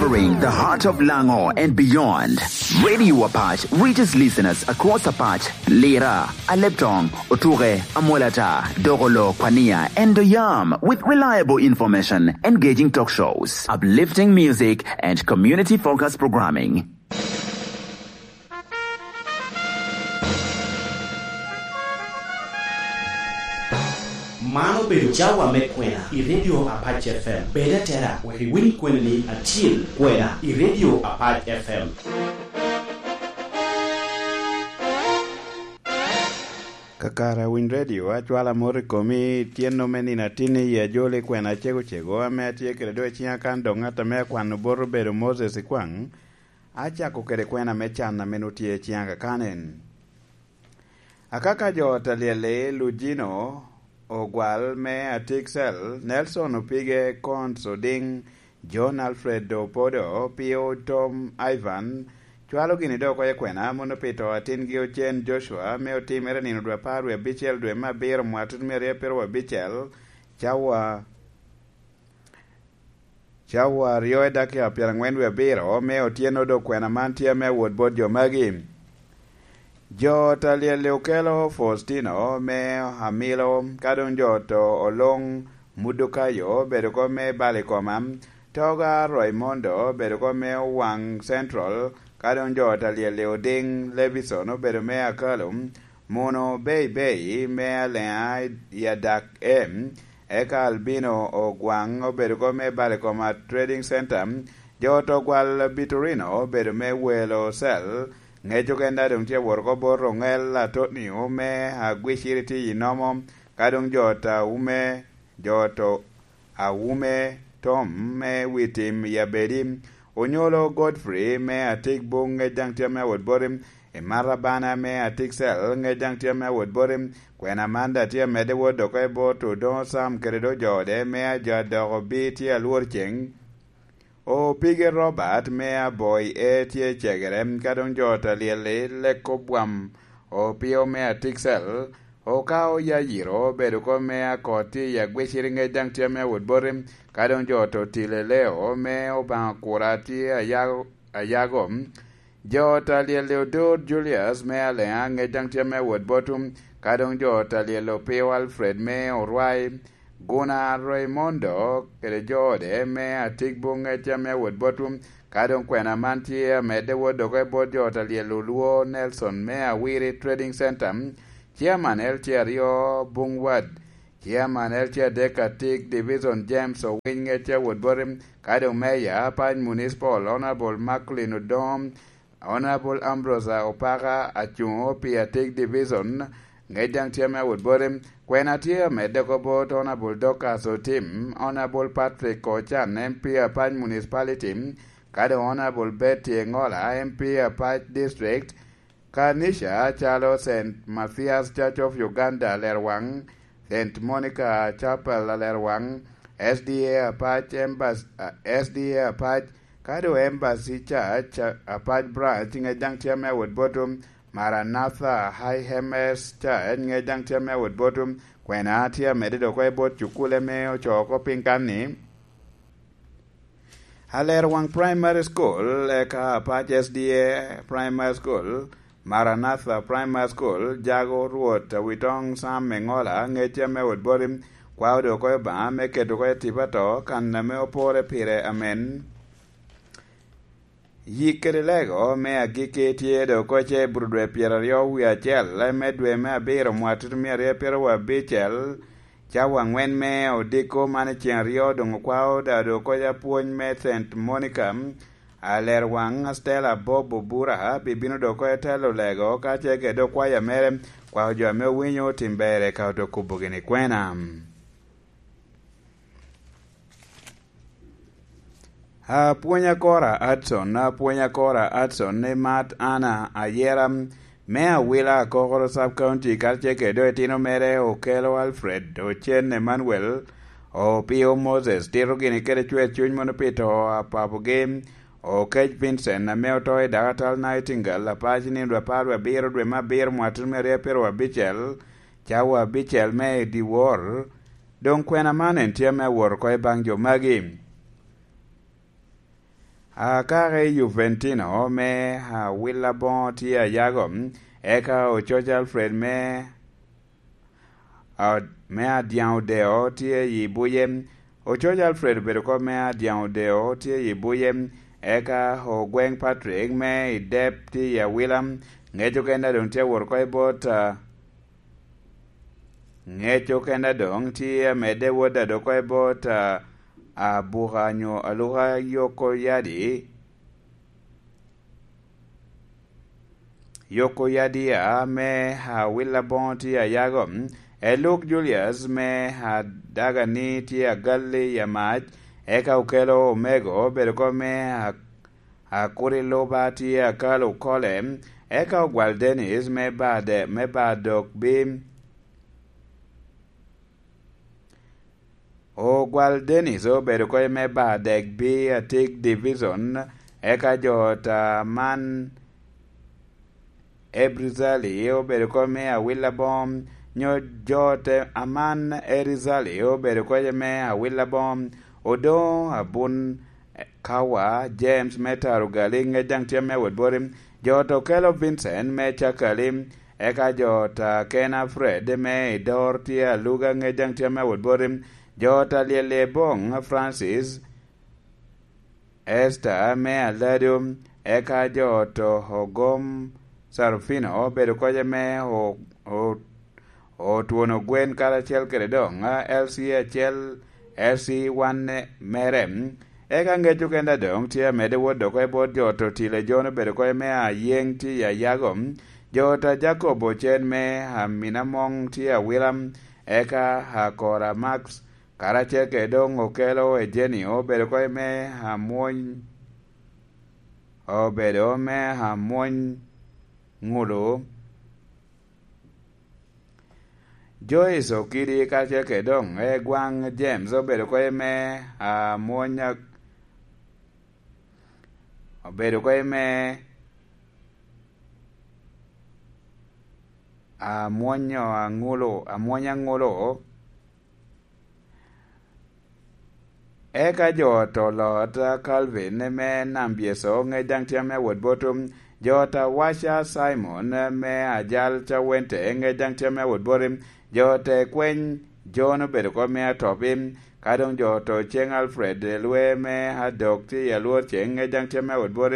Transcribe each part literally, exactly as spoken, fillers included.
Ring the heart of Lango and beyond. Radio Apache reaches listeners across Apache, Lira, Aleptong, Otuke, Amolata, Dogolo, Kwania, and Doyam with reliable information, engaging talk shows, uplifting music, and community-focused programming. Man obedo cawa me kwena i Radio Apache F M. Bed atera wek iwiny kwenani acil kwena i Radio Apache F M. Kakare awiny redio, acwalo amot i komi, tyeno me nino atinni i ajol i kwena acego cego ame atye kede do i ciŋa kan dok ŋat ame akwano bot obedo Moses Ikwaŋ, acako kede kwena me can ame nwoŋo tye i ciŋa kakanen. Akaka jo ot alyel-li, Lujino Ogwal me Atiksel, Nelson Opige, Cons Odiŋ, John Alfred Opodo, Pio Tom Ivan, cwalo gini dok oko i kwena, mono pi to atingi Ocen Joshua, ame otimere nino dwe apar wie abicel dwe me abiro mwaka tutumia aryo apiro wie abicel, cawa cawa aryo i dakika pyeraŋwen wie abiro, me otyeno dok kwena man tye ame awot bot jo magi. Jo ot alyel-li okelo Faustino me Amilo, ka doŋ jo oto Oloŋ Mudukayo obedo kop me Balikoma, Toga Roimondo obedo kop me Owaŋ Central, ka doŋ jo ot alyel-li Odiŋ Levison obedo me Akalo, Muno Bei Bei me Aleŋa i Adak M, eka Albino Ogwaŋ obedo kop me Balikoma Trading Center, jo ot Ogwal Bitorino obedo me Welo Cell, ŋec okene daŋ doŋ tye awot oko bot Oŋel Atonio me Agwiciri tye i Nomo, ka doŋ jo ot Aume, jo ot Aume Tom me Witim i Abedi, Onyolo Godfrey me Atik Buŋ ŋec daŋ tye ame awot boti, Emata Bana me Atik Cell ŋec daŋ tye ame awot boti, Kwena Amanda tye amedde wot dok oko i bot Odoŋo Sam kede doŋ jo ode me Ajo Adoko Bi tye alwor ceŋ. Opige Robert me Aboi E tye cegere, ka doŋ jo ot alyel-li Leko Bwam, Opio me Atiksel, Okao Yayiro obedo kop me Akoti i Agwiciri ŋec daŋ tye ame awot boti, ka doŋ jo ot Otile Leo me Obaŋa Kura tye ayago, ayago. Jo ot alyel-li Odur Julius me Aleŋa ŋec daŋ tye ame awot botwu, ka doŋ jo ot alyel Opio Alfred me Orwai, Guna Raimondo kede jo ode me Atigbo ŋec ame awot botwu, ka doŋ kwena man tye amedde wot dok i bot jo ot alyel Olwo Nelson me Awiri Trading Center, Chairman L C aryo Buŋwad, Chairman L C adek Atik Division James Owiny ŋec awot boti, ka doŋ Meya Apac Municipal Honorable Macklin Odom, Honorable Ambrose Opaka acuŋo pi Atik Division, ŋec daŋ tye ame awot boti. Kwena tye amedde oko bot Honorable Dorcas Otim, Honorable Patrick Ochan, M P Apac Municipality, ka doŋ Honorable Betty Engola, M P Apac District, Kanica calo Saint Mathias Church of Uganda Alerwaŋ, Saint Monica Chapel Alerwaŋ, S D A Apac Embassy, S D A Apac, ka doŋ Embassy Church Apac Branch ŋec daŋ tye ame awot botwu, Maranatha High M S Church ŋec daŋ tye ame awot botwu, kwena tye amedde dok oko i bot cukule me ocoo oko piny kan-ni. Alerwaŋ Primary School, eka Apac S D A Primary School, Maranatha Primary School, jago Rwot Awitoŋ Sam Eŋola, ŋecce ame wot boti, kwao doŋ oko i Obaŋa me keto oko i tipo ato, kan ame opore pire amen. Yik kede lego me agikki tye doŋ oko ce i Burudwe pyeraryo wie acel me dwe me abiro mwaka tutumia aryo pyeraryo abicel, cawa aŋwen me odiko man i ceŋ aryo doŋ okwao dado oko i apwony me Saint Monica, Alerwaŋ Stella Bob Obura bibino doŋ oko i telo lego kacel kede okwayo mere, kwao jo ame owinyo otim ber eka oto kubo gini kwena. Apwony akora Adson, apwony akora Adson, ni Mat Anna Ayera me Awila Akokoro Sub County karacel kede doŋ itino mere Okelo Alfred, Ocen Emmanuel, Opio Moses, tito gini kede cwer cuny mono pi to a papogi, Okec Vincent ame oto i Dakatal Nightingale, Apac nino dwe apar wie abiro dwe me abiro mwaka tutumia aryo pyeraryo abicel, cawa abicel me i dyewor, Doŋ kwena man en tye ame awot oko i baŋ jo magi. Akaka i Juventino me Awila Boŋo tye ayago, eka ococ Alfred me, a-, me Adyaŋ Odeo tye i buye. Ococ Alfred obedo kop me Adyaŋ Odeo tye i buye, eka Ogweŋ Patrick me i Dep tye i Awila. Ŋec okene doŋ tye awot oko i bot, a, Ŋec okene doŋ tye amedde wot adoko i bot, a, abuka nyo aluka yoko yadi. Yoko yadi a me Awila Boŋo tye ayago. Eluk Julius me Adagani tye agalli i amac, eka okelo omego obedo kop me a-, Akuri Luba tye akalo okole, eka Ogwal Dennis me Bade-, me Badok Bim. Ogwal Dennis obedo kony me Badek Bi Atik Division, eka jo ta man Ebrizali obedo kop me Awila Bom, nyo jo te aman Erizali obedo kop me Awila Bom, Odoŋo Abun Kawa, James me Tarugali, ŋec daŋ tye me wot boti, jo to kelo Vincent me Cakali, eka jo ta Kena Fred me Idor tye aluga, ŋec daŋ tye me wot boti, jo ta Lyelye Boŋ Francis, Esther me Alado, eka jo to Ogom Sarufino obedo kocce me o-, o-, Otwono Gwen karacel kede doŋ, a, L C acel, L C wan mere. Eka ŋec okene doŋ tye amedde wot doko i bot jo to Tile Jon obedo kocce me Ayeŋ tye i Ayago, jo ta Jacob Ocen me Aminamoŋ tye Awila, eka Akora Max karacel kede doŋ okelo Ejenio obedo kop me Amwony, obedo me Amwony Ŋulu. Joyce Okidi karacel kede doŋ Egwaŋ James obedo kop me Amwony, obedo kop me Amwonyo Aŋulu, Amwony Aŋulu. Eka jo to Lot Calvin me Nam Byeso, ŋec daŋ tye ame wot bot, jo ta Waca Simon me Ajal Cawente, ŋec daŋ tye ame wot bot, jo te Kweny Jon obedo kop me Atopi, ka doŋ jo to Ceŋ Alfred Lwe me Adok tye i Alwor Ceŋ, ŋec daŋ tye ame wot bot,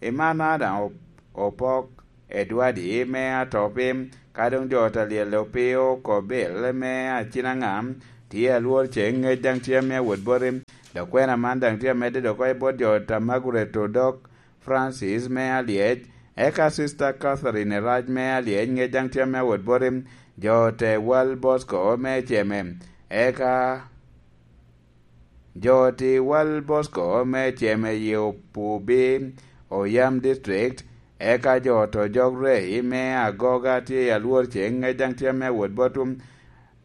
Imana daŋ op-, Opok Edwadi me Atopi, ka doŋ jo ta Lyel Opio Kobil me Acinaŋa, tye Alwor Ceŋ, ŋec daŋ tye ame wot boti. Dok kwena man daŋ tye amedde dok oko i bot jo ta Margaret Odok Francis me Alyec, eka Sister Catherine Erac me Alyec, ŋec daŋ tye ame wot boti. Jo te Wal Bosco me Ceme, eka Jo ti Wal Bosco me Ceme i Opubi, Oyam District, eka jo to Jog Rei me Agoga tye i Alwor Ceŋ, ŋec daŋ tye ame wot botwu.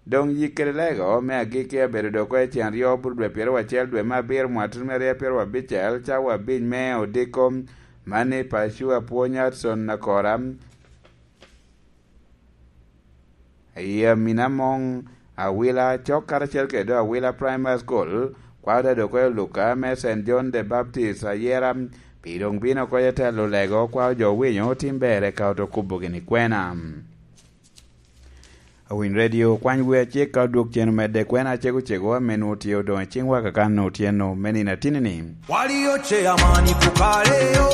Doŋ yik kede lego me agikki abedo dok oko i cen aryo bur dwe pyeraryo acel dwe me abiro mwatut me aryo pyeraryo abicel, cawa abic me odiko. Mani paco apwony Hudson Akora. I Aminamoŋ, Awila, cok karacel kede Awila Primary School, kwao te dok oko i Luka me Saint John the Baptist, Ayera, pi doŋ bino oko i telo lego, kwao jo winyo otim ber eka oto kubo gini kwena. Awiny Radio, kwany wi acik ka odwog cen omedde kwena acego cego ame nwoŋo tye odoŋ i ciŋwa kakan otyeno me nino atini-ni. Walio chairman kukaleo,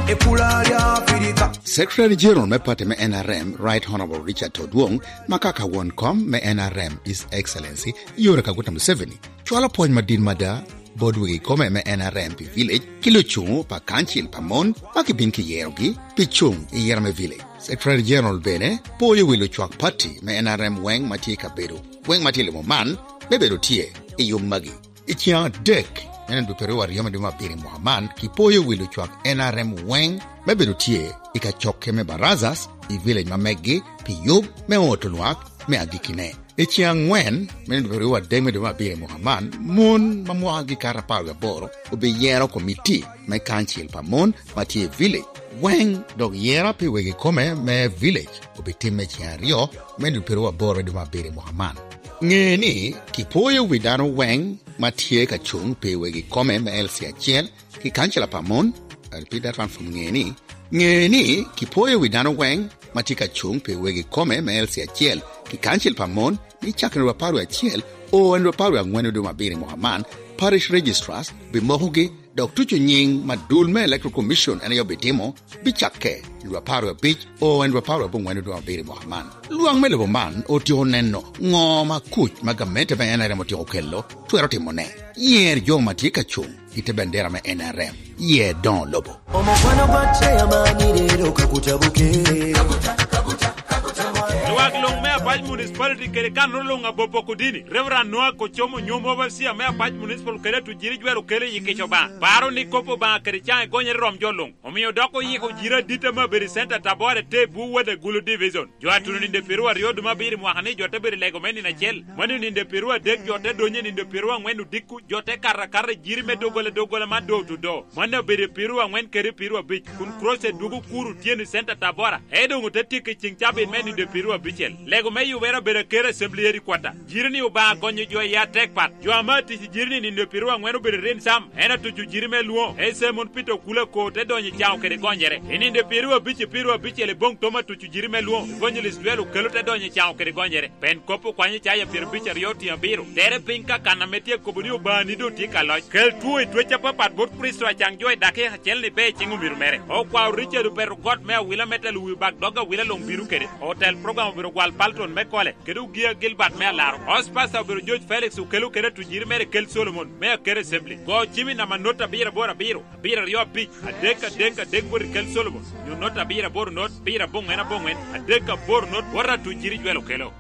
e pula lya Afrika. Secretary General me party me N R M, Right Honorable Richard Todwong, ma kaka won kom me N R M, His Excellency Yoweri Kaguta Museveni, cwalo pwony madit mada bot wegi kome me N R M pi village, ki lucuŋo pa kancil pa mon ma kibin kiyerogi pi cuŋ i yera me village. Secretary General bene poyo wi lucwak party me N R M weŋ ma tye i kabedo weŋ ma tye i limo man, me bedo tye i yub magi. I ciŋ adek, me nino dwe pyeraryo aryo me dwe me abiro i mwaka man, kipoyo wi lucwak N R M weŋ me bedo tye i kacokke me Barazas i village ma meggi pi yub me oto lwak me agikkine. I ciŋ aŋwen, me nino dwe pyeraryo adek me dwe me abiro i mwaka man, mon ma mwakagi kato apar wie aboro obiyero komiti me kancil pa mon ma tye i village weŋ, dok yera pi wegi kome me village obitimme i ciŋ aryo me nino dwe pyeraryo aboro me dwe me abiro i mwaka man. Ŋe ni, kipoyo wi dano weŋ ma tye ka cuŋ pi wegi kome me L C acel ki kancila pa mon, Elpida Ransom ŋe ni, ŋe ni kipwoyo wi dano weŋ ma tye ka cuŋ pi wegi kome me L C acel ki kancil pa mon ni cakere wa parwe acel o en wa parwe aŋwen oduma abiri mwaka man, parish registrars bimokogi dok tuco nyiŋ ma dul me Electoral Commission en aye obitimo bicakke i dwe apar wie abic o en dwe apar wie abongwen oduma abiri mwaka man. Lwak me lobo man otyeko neno ŋo ma kuc ma gamente me N R M otyeko kelo twero timone. Yer jo ma tye ka cuŋ i te bendera me N R M. Yer doŋo lobo. Omukwano gwa chairman rero kakutabuke. Lwak luŋ me Apac Municipality kede kanoro luŋ Abobo Kudini, Reverend Noah Kocomo, nyom overseer me Apac Municipal kede atujiri jwero kelo i kic Obaŋa. Paro ni kop Obaŋa kede caŋ egonyere rom jo luŋ. Omio dok oyiko jiri adit ame obedo i center Tabora te Buwada Gulu Division. Jo atuno ninde piru aryo duma abiro i mwaka ni jo te bedo i lego me nino acel. Mano ninde piru adek jo te donyo ninde piru angwen odiko. Jo te kato akata i jiri me doggola doggola man door to door. Mano obedo i piru angwen kede piru abic, kun Crusade dwogo kuro otyeno i center Tabora. Ee doŋ ote tyeko i ceŋ cabit me ninde piru abicel. Lego me yubere obedo aker assembly headquarter. Jiri ni Obaŋa gonyo jo i atek pat. Jo ame atic i jiri ni ninde piru angwen obedo i rin cam. En atuco jiri me lwoŋo. Ee Simon Peter Okula ko te donyo i caŋo kede gonyere. I ninde piru abic i piru abicel i boŋ tom atuco jiri me lwoŋo. Evangelist Dwel Okelo te donyo i caŋo kede gonyere. Pen kop okwanyo caya pyerabic aryo otiŋ abiro. Tere piny ka kan ame tye kobo ni Obaŋa ni doŋ tye ka loc. Kel two i twec apapat bot Kricito acaŋ jo i dakika acel ni be i ciŋ omiro mere. Okwao Richard Opeto got me awila me telo wi bak dog awila luŋ bino kede. Otel program obiro gwal Palton me Kole, kede Ogia Gilbert me Alaro. House Pastor obiro George Felix Okelo kede atujiri mere Kel Solomon me Akere Assembly. Go cimi namba not abiro aboro abiro, abiro aryo abic, adek adek adek bot i Kel Solomon. Nyo not abiro aboro not, abiro aboŋwen aboŋwen, adek aboro not, bot atujiri Jwel Okelo.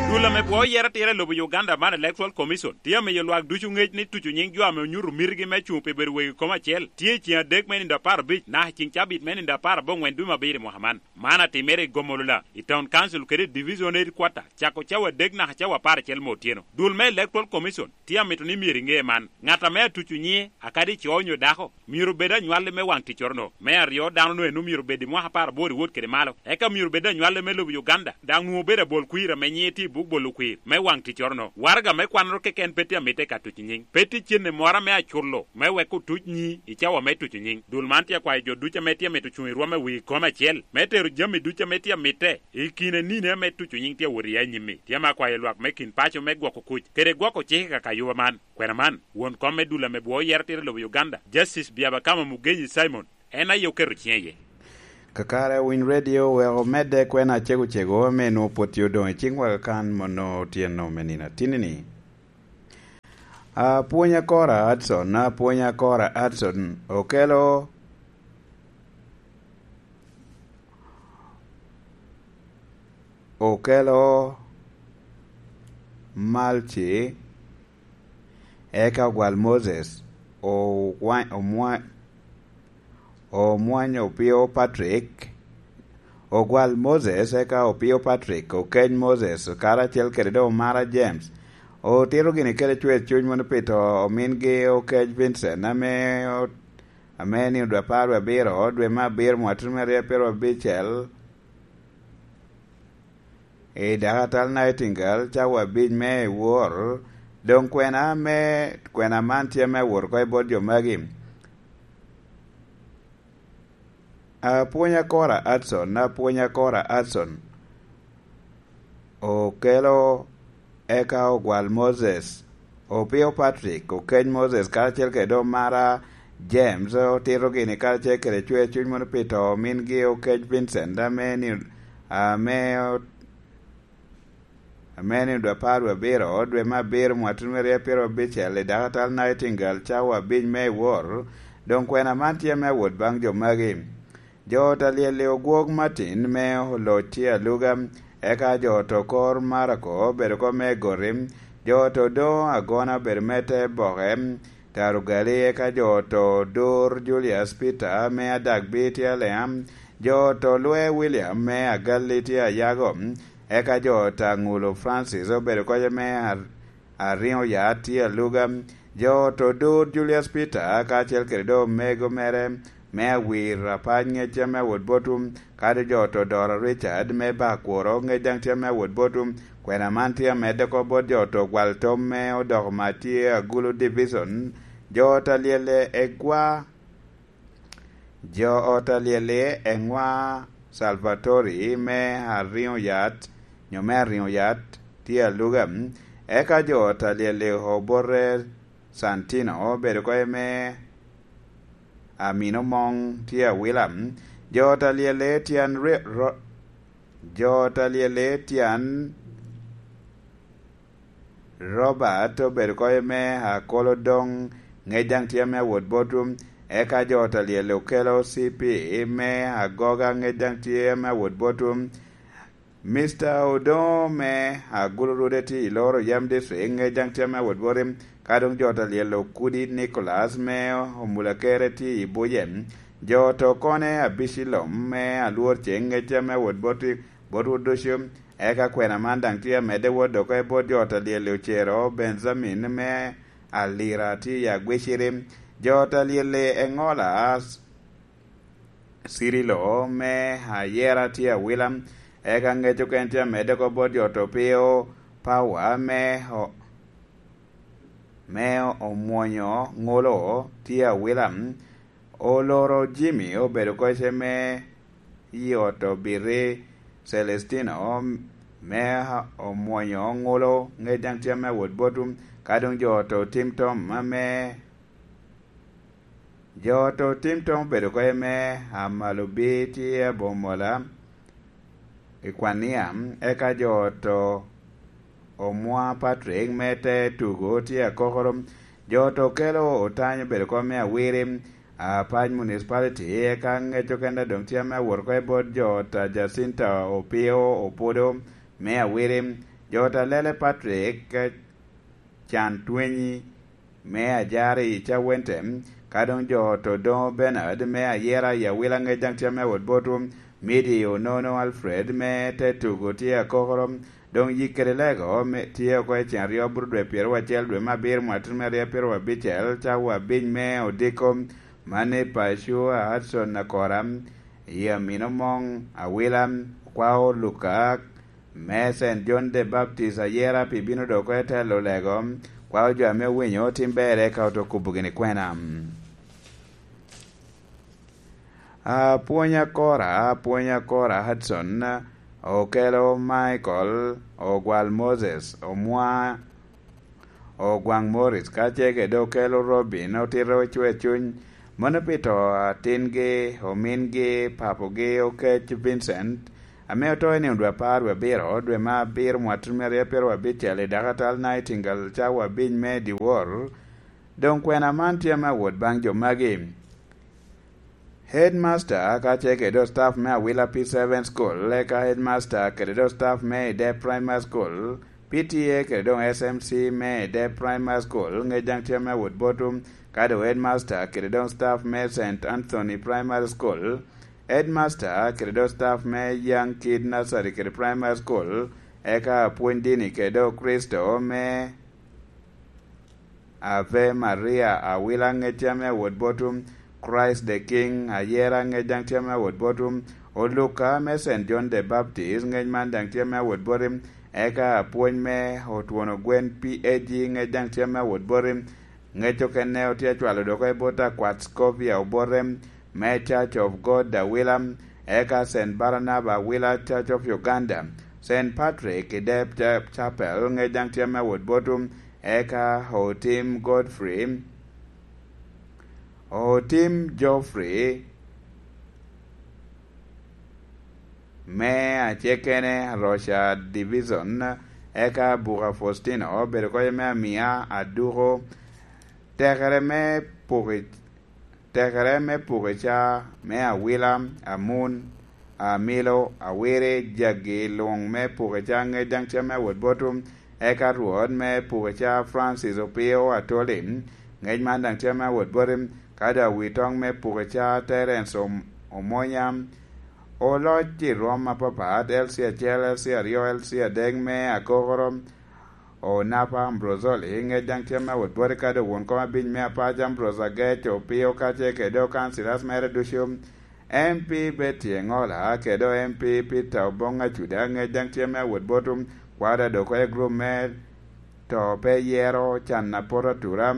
Dul ame bwo yero atira i lobo Uganda man Electoral Commission tye amiyo lwak ducu ŋec ni tuco nyiŋ jo ame onyuto mitigi me cuŋ pi bedo wegi kom acel tye i ceŋ adek me nindo apar abic naka i ceŋ cabit me nindo apar aboŋwen dwe me abiro i mwaka man. Man atimere i Gomolola, i Town Council kede i Division Headquarter, cako cawa adek naka cawa apar acel me otyeno. Dul me Electoral Commission tye amito ni myero iŋe man. Ŋat ame atuco nyiŋe, akadi co onyo dako, myero obed anywalli me waŋ ticcoro-no. Me aryo, dano-nu en omyero obed i mwaka apar aboro i wot kede malo. Eka myero obed anywalli me lobo Uganda, daŋ nwoŋo obedo abol kwir ame nyiŋe tye i buk bolo kwir me waŋ ticcoro-no. Waraga me kwannoro keken pe tye amitte ka tuco nyiŋ. Pe tye cente moro ame aculo me wek otuc nyiŋi i cawa me tuco nyiŋ. Dul man tye akwayo jo ducu ame tye amito cuŋ i rwom me wii kom acel, me tero jami ducu ame tye amitte i kine nino ame tuco nyiŋ tye awot iye anyim-mi. Tye ame akwayo lwak me kin paco me gwoko kuc kede gwoko cik i kaka yuba man. Kwena man, won kom me dul ame bwo yero tira i lobo Uganda, Justice Byabakama Mugenyi Simon, en aye oketo ciŋe iye. Kakare Winy Radio wek omedde kwena cego cego ame nwoŋo pwod tye odoŋ i ciŋwa kakan mono otyeno me nino atinni-ni. Apwony Akora Hudson, Apwony Akora Hudson, okelo, okelo Malci, eka ogwal Moses, owa-, omwa-, omwanyo Opio Patrick, ogwal Moses, eka Opio Patrick okeny Moses, karacel kede doŋ Omara James, otito gini kede cwer cuny mono pi to omingi okeny Vincent, ame o-, ame ni odwe apar wie abiro, dwe me abiro, mwaka tye me aryo apar wie abicel, i dakatal Nightingale, cawa abic me i wor, doŋ kwena me, kwena man tye me wot oko i bot jo magi. Apwony Akora Hudson, Apwony Akora Hudson, okelo eka ogwal Moses, Opio Patrick, okeny Moses, karacel kede Omara James, otito gini karacel kede cwer cuny mono pi to omingi okeny Vincent, ame ni, ame o-, ame ni dwe apar wie abiro, dwe me abiro, mwaka tye me aryo apar wie abicel, i dakatal Nightingale, cawa abic me i wor, doŋ kwena man tye me awot baŋ jo magi. Jo ot a Lyel-li ogwok Martin me oloc tye aluga, eka jo ot okor Marako obedo kop me goti, jo ot odoŋo agona obedo me te boke, Tarugali, eka jo ot odur Julius Peter me Adagbi tye Alea, jo ot olwe William me Agalli tye Ayago, eka jo ot a Ŋulo Francis obedo kop me ar-, ariŋo ya tye aluga. Jo ot odur Julius Peter kacel kede doŋ omego mere me awir apac ŋec tye me awot botwu, kadi jo ot odoro Richard me Bakuro ŋec daŋ tye me awot botwu, Kwena man tye amedde oko bot jo oto gwal tom me odoko ma tye Agulu Division, jo ot a lyelle egwa, jo ot a lyelle eŋwa Salvatori me Ariŋo Yat, nyo me Ariŋo Yat tye aluga, eka jo ot a lyelle obote Santino obedo oko me Amino Moŋ tye awila, jo ot a lyelle tyen ri- ro- jo ot a lyelle tyen Robert obedo oko me Akolo Doŋ, ŋec daŋ tye ame awot botwu, eka jo ot a lyelle okelo C P me Agoga, ŋec daŋ tye ame awot botwu, Mister Odoŋo me Agulu Rude tye i Loro Yam District, ŋec daŋ tye ame awot boti, ka doŋ jo ot a lyelle Okudi Nicholas me Omulakere tye i Buje, jo ot okone Abicilom me Alwor Ceŋ, ŋec tye ame awot boti, botwu ducu, eka kwena man daŋ tye amedde wot oko i bot jo ot a lyelle Ocero Benjamin me Alira tye i Agwiciri, jo ot a lyelle Eŋola Cirilo me Ayera tye awila, eka ŋec oken tye amedde oko bot jo ot Opio Pawa me o- me omwonyo ŋolo tye awila, oloro Jimmy obedo koce me i ot Obiri Celestino me omwonyo ŋolo, ŋec daŋ tye ame awot botwu, ka doŋ jo ot otim tom ame jo ot otim tom obedo oko me Amalobi tye abomola i Kwania, eka jo ot Omwa Patrick me te tugo tye akokoro, jo ot okelo Otany obedo oko me Awiri, Apac Municipality, eka ŋec oken daŋ tye ame awot oko i bot jo ot a Jacinta Opio Opodo me Awiri, jo ot a Lele Patrick Can Twenyi me Ajari i Cawente, ka doŋ jo ot Odoŋo Bernard me Ayera i Awila, ŋec daŋ tye ame awot botwu, Midi Onono Alfred me te tugo tye akokoro, doŋ yik kede lego me tye oko i cen aryo aboro dwe pyeraryo acel dwe me abiro mwakki me aryo pyeraryo abicel, cawa abic me odiko, mano i paco a Hudson Akora, i Amino Moŋ Awila, Kwao Luka, me Saint John the Baptist Ayera pi bino dok oko i telo lego, Kwao jo ame owinyo otim ber eka oto kubo gini kwena. Apwony Akora, Apwony Akora Hudson, okelo Michael, Ogwal Moses, Omwa, Ogwaŋ Morris, ka ce kede okelo Robin, otito Cwer Cuny, mano pi to atingi, omingi, papogi, Okec Vincent, ame oto i nino dwe apar dwe abiro, dwe me abiro mwakki me aryo pyeraryo abicel i dakatal Nightingale cawa abic me dyewor. Doŋ kwena man tye ame awot baŋ jo magi. Headmaster ka ce kede staff me Awila P seven School, eka headmaster kede do staff me Ide Primary School, P T A kede doŋ S M C me Ide Primary School, ŋec daŋ tye ame awot botwu, ka doŋ headmaster kede doŋ staff me Saint Anthony Primary School, headmaster kede doŋ staff me Young Kid Nursery kede Primary School, eka apwony dini kede doŋ Kricito me Ave Maria Awila, ŋec tye ame awot botwu, Christ the King Ayera, ŋec daŋ tye ame awot botwu, Oluka me Saint John the Baptist, ŋec man daŋ tye ame awot boti, eka apwony me Otwono Gwen P A G, ŋec daŋ tye ame awot boti, ŋec okene otye acwalo dok oko i bot akwat Scovia Obote me Church of God Awila, eka Saint Barnaba Awila Church of Uganda, Saint Patrick i Dep Cha- Chapel, ŋec daŋ tye ame awot botwu, eka Otim Godfrey, Otim Geoffrey me Acekene Rocha Division, eka Buka Faustino obedo koc me Amia Aduko, tekere me puko i- tekere me puko i ca me Awila, Amun, Amilo, Awiri, jagi luŋ me puko i ca ŋec daŋ tye me awot botwu, eka Rwot me puko i ca Francis Opio Atoli, ŋec man daŋ tye me awot boti, ka doŋ awi toŋ me puko i ca Terence Om- Omonya, oloc i rwom apapat, L C acel, L C aryo, L C adek me akokoro, Onapa Ambrozoli, ŋec daŋ tye me awot boti, ka doŋ won kom abic me apac Ambrose Agec Opio, ka ce kede okancilas mere ducu, M P Betty Engola, kede M P Peter Obong Acuda, ŋec daŋ tye me awot botwu, Kwaro da dok oko i gurup me to pe yero can a poto atura,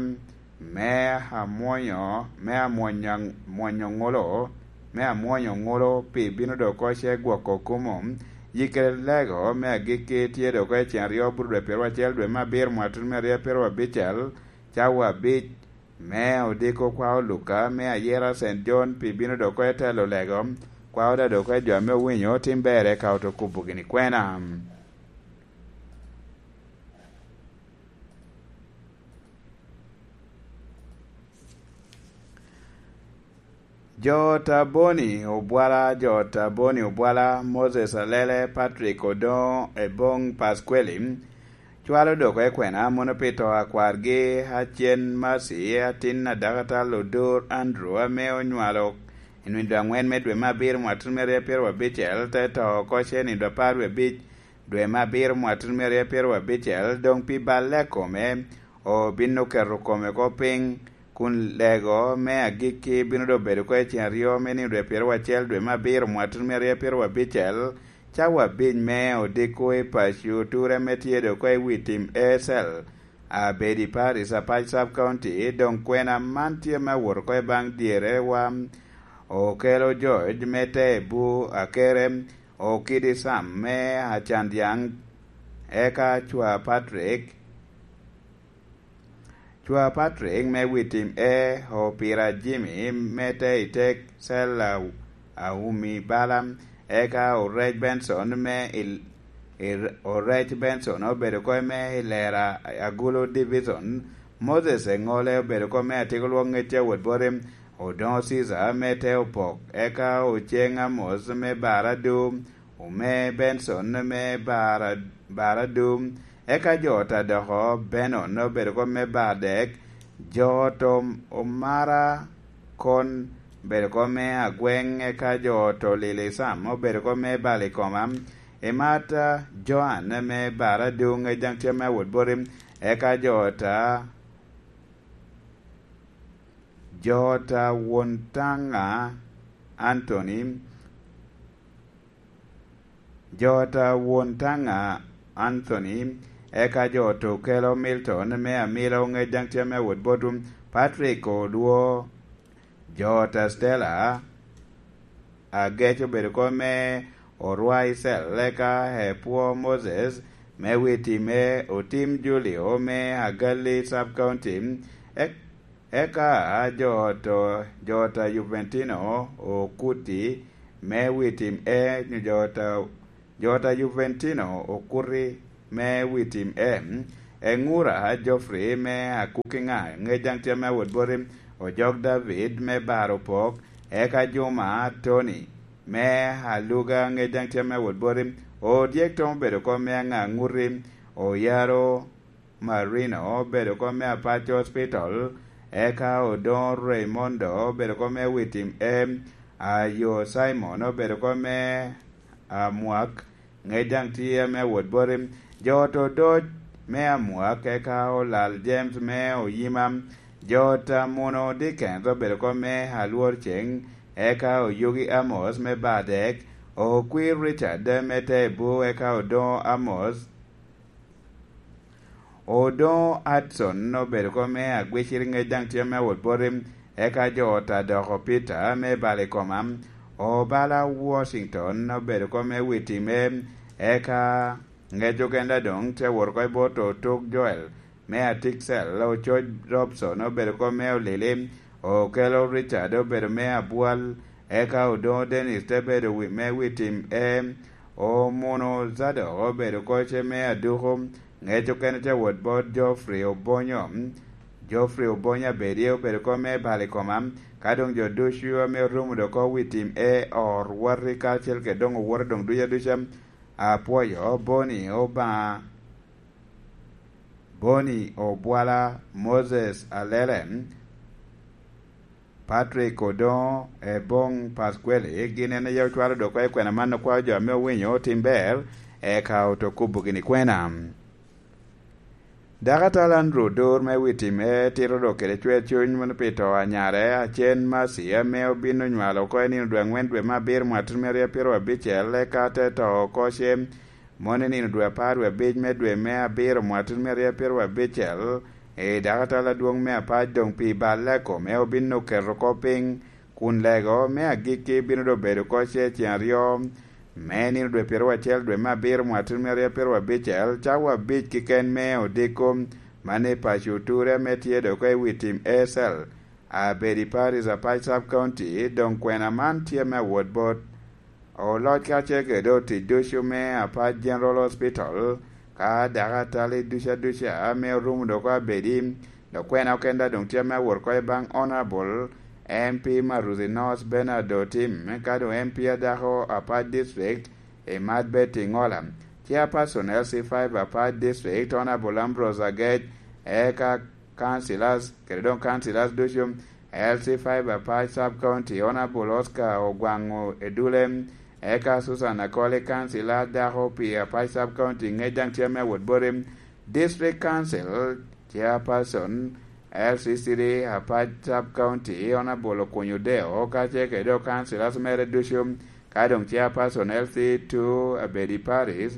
me amwonyo, me amwonyo, mwonyo ŋolo, me amwonyo ŋolo pi bino dok oko ce gwoko kumo. Yikere lego me agikki tye dok oko i cen aryo buru dwe pyeraryo acel dwe me abiro mwaka tuno me aryo pyeraryo abicel, cawa abic, me odiko kwao Luka me ayera Saint John pi bino dok oko i telo lego, kwao da dok oko i jo ame owinyo tim berre ka oto kubo gini kwena. Jo ta Boni Obwala, jo ta Boni Obwala, Moses Alele, Patrick Odongo, Ebong Pasqueli, cwalo dok oko i kwena mono pi to a kwargi, Acen Mercy, atin a Dakatal Odur Andrew, ame onywalo i nwindo angwen me dwe me abiro mwaka tuno me aryo pyeraryo abicel, te to oko ce nwindo apar wie abic dwe me abiro mwaka tuno me aryo pyeraryo abicel, doŋ pi balle a kome, obino keto kome oko piny, kun lego me agikki bino doŋ bedo oko i cen aryo me nino dwe pyeraryo acel dwe me abiro mwaka tuno me aryo pyeraryo abicel, cawa abic me odiko i paco ture ame tye doŋ oko i wi tim A C L, Abedi Parish, Apac Sub County. Doŋ kwena man tye me awot oko i baŋ dyere wa Okelo George me Tebu Akere, Okidi Sam me Acandyaŋ, eka Cwa Patrick, Cwa Patrick me Witim E, Opira Jimmy me Teitek Cell a, Aumi Bala, eka Orec Benson me il, ir, Orec Benson obedo oko me i Lera Agulu Division, Moses Eŋole obedo oko me Atiko Lwok Ŋecce Awot Boti, Odoŋo Caesar me Teopok, eka Oceŋ Amos me Baradu, Ome Benson me Bara, Baradu, eka jo ta doko Benon obedo oko me Bardek, jo to Omara Kon obedo oko me Agweŋ, eka jo to Lili Sam obedo oko me Balikoma, Emata Joan me Baradu, Ŋec daŋ tye me Awot Boti, eka jo ta, jo ta Won Taŋa Anthony, jo ta Won Taŋa Anthony, eka jo ta Okelo Milton me Amilo, Ŋec daŋ tye me Awot Boti, Patrick Odwo, jo ta Stella Agec obedo oko me Orwai Cell, eka Epwo Moses me Witim E, Otim Julio me Agali Sub County, ek-, eka jo to, jo ta Juventino Okuti me Witim E, nyo jo ta, jo ta Juventino Okuti me Witim E, Eŋura Geoffrey me Akukiŋa, Ŋec daŋ tye me Awot Boti, Ojok David me Baro Pok, eka Juma Tony me Aluga, Ŋec daŋ tye me Awot Boti, Odyek Tom obedo oko me Aŋaŋuti, Oyaro Marino obedo oko me Apac Hospital, eka Odoŋo Raymondo obedo oko me Witim E, Ayo Simon obedo oko me Amwak, Ŋec daŋ tye me Awot Boti, jo ta Odoc me Amwak, eka Olal James me Oyima, jo ta Muno Dickens obedo oko me Alwor Ceŋ, eka Oyugi Amos me Bardek, Okwir Richard me Tebu, eka Odoŋo Amos, Odoŋo Hudson obedo oko me Agwicir, Ŋec daŋ tye me Awot Boti, eka jo ta doko Peter me Balikoma, Obala Washington obedo oko me Witim E, eka Ŋec okene doŋ tye awot oko i bot Otuk Joel me Atiksel, Ococ Robson obedo oko me Olili, Okelo Richard obedo me Abwal, eka Odoŋo Dennis te bedo wi, me Witim E, Omuno Zadok obedo oko ce me Aduku, Ŋec okene tye awot bot Geoffrey Obonyo, Geoffrey Obonyo Abedi obedo oko me Balikoma, ka doŋ jo ducu ame orumo dok oko Witim E, Orwati karacel kede doŋ owote doŋ ducu aduca, apwoyo Boni Obaŋa, Boni Obwala, Moses Alele, Patrick Odoŋo, Ebong Pasqueli, gin en aye ocwalo dok oko i kwena man okwao jo ame owinyo otim ber, eka oto kubo gini kwena. Dakatal Andrew Odur me Witim E tito dok kede cwer cuny mono pi to a nyare, Acen Mercy, ame obin onywalo oko i nino dwe aŋwen dwe me abiro mwaka tuno me aryo pyeraryo abicel, eka te to oko ce Moni nino dwe apar wie abic me dwe me abiro mwatun me aryo apiro wie abicel, i dakatal adwoŋ me apac doŋ pi balle kome obin oketo oko piny, kun lego me agikki bino doŋ bedo oko ce ceŋ aryo me nino dwe pyeraryo acel dwe me abiro mwatun me aryo apiro abicel, cawa abic keken me odiko, mano i paco Oture ame tye doŋ oko i wi tim Acel, Abedi Parish, Apac Sub County. Doŋ kwena man tye me awot bot oloc kacel kede otic ducu me Apac General Hospital, ka dakatal ducu aduca ame orumo doŋ oko Abedi. Dok kwena okenda doŋ tye ame awot oko i baŋ Honorable M P Maruzi North Bernard Otim, ka doŋ M P adako Apac District, Imad Betty Ngola, Chairperson L C five Apac District, Honorable Ambrose Agec, eka councillors, kede doŋ councillors ducu, L C five Apac Sub County, Honorable Oscar Ogwaŋo Edule, eka Susan Akoli, councillor dako pi Apac Sub County, ŋec daŋ tye ame awot boti, District Council Chairperson, L C three Apac Sub County, Honorable Okunyo Deo, kacel kede doŋ councillors mere ducu, ka doŋ Chairperson L C two Abedi Parish,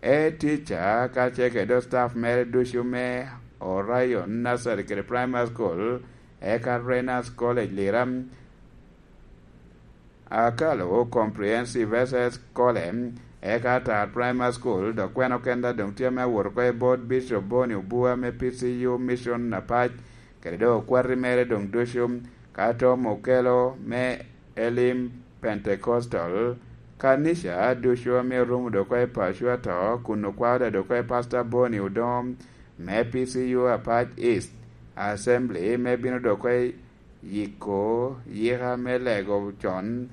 e teacher, kacel kede doŋ staff mere ducu me Orion Nursery kede Primary School, eka Renas College Lira, Akalo Comprehensive S S College, eka Atar Primary School, dok kwena okenda doŋ tye ame awot oko i bot Bishop Boni Obua me P C U Mission Apac, kede doŋ okwati mere doŋ ducu, ka Tom Okelo me Elim Pentecostal, kanica ducu ame orumo doŋ oko i paco ato, kun okwao daŋ doŋ oko i Pastor Boni Odongo me P C U Apac East Assembly, me bino doŋ oko i yiko yika me lego con.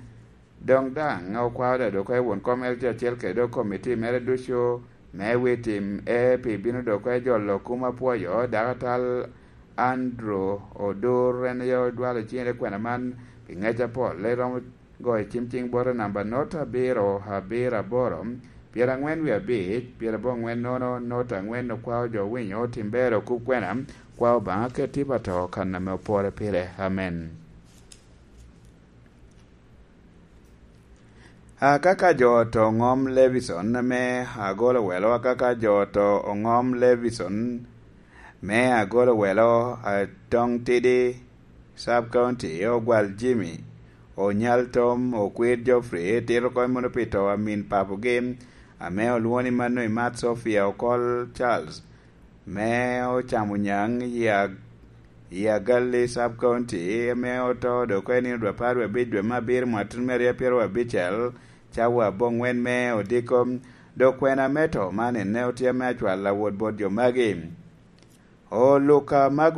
Doŋ daŋ okwao daŋ doŋ oko i won kom mere tye acel kede doŋ komiti mere ducu me wi tim e pi bino doŋ oko i jolo kum apwoyo, dakatal Andrew Odur, en aye odwalo ciŋe i kwena man pi ŋec apol, en romo goyo cim ciŋ bote namba not abiro abiro aboro, pyerangwen wie abic, pyeraboro angwen nono, not angwen, okwao jo winyo tim ber okub kwena, kwao Obaŋa ket tipo ato kan ame opore pire. Amen. Akaka jo oto oŋom Levison me agolo welo, akaka jo oto oŋom Levison me agolo welo, Atoŋ Tidi Sub County, Ogwal Jimmy, Onyal Tom, Okwir Geoffrey, tito kony mono pi to a min papogi, ame olwoŋo ni mano Imat Sophia Okol Charles, me ocamo nyaŋ i Ag-, i Agalli Sub County, ame oto doŋ oko i nino dwe apar wie abic dwe me abiro mwatun me aryo apiro abicel, cawa aboŋwen me odiko. Dok kwena me to man ene otye ame acwal awot bot jo magi. Oluka ma